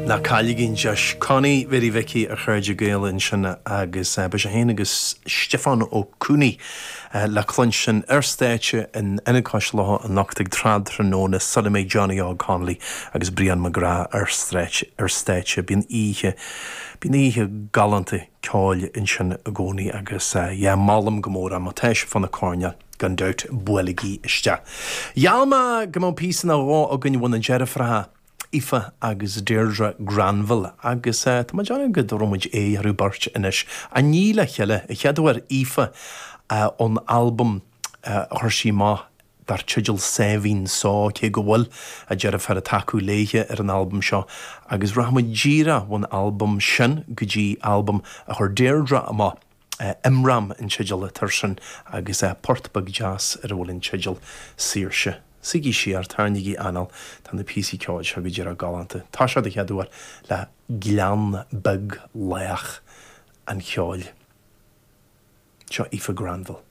Ná cailligí an deis. Connie Mhéirí Mhicí a chairde Gael ansin agus beidh sé féin agus Stiofán Ó Conaill le cluinstin ar stáitse in Ionad Cois Locha anocht ag tráthnóna sula mbeidh Johnny Óg Connolly agus Brian McGrath ar ar stáitse. Bíonn oíche bíonn oíche galánta ceoil ansin i gcónaí agus yeah molaim go mór é má tá sibh fá na coirnéil gan dabht buailigí isteach. Gheall mé go mbeadh píosa nó dhó againn ó na deirfiúracha Aoife agus Deirdre Granville agus tá mé ag déanamh go dtabharfaidh muid aghaidh orthu beirt anois. Ach ní le chéile, an chéad uair Aoife ón albam a chuir sí amach dar teideal Sáimhín Só, cé go bhfuil a deirfiúr ag tacú léithe ar an albam seo, agus rachaidh muid díreach ón albam sin go dtí albam a chuir Deirdre amach, Imram an teideal atá air sin agus port beag deas ar a bhfuil an teideal Saoirse. Suígí siar, tarraingígí anáil, tá na píosaí ceoil seo go díreach galánta. Tá seo den chéad uair le Gleann Beag Lách an Cheoil. Seo Aoife Granville.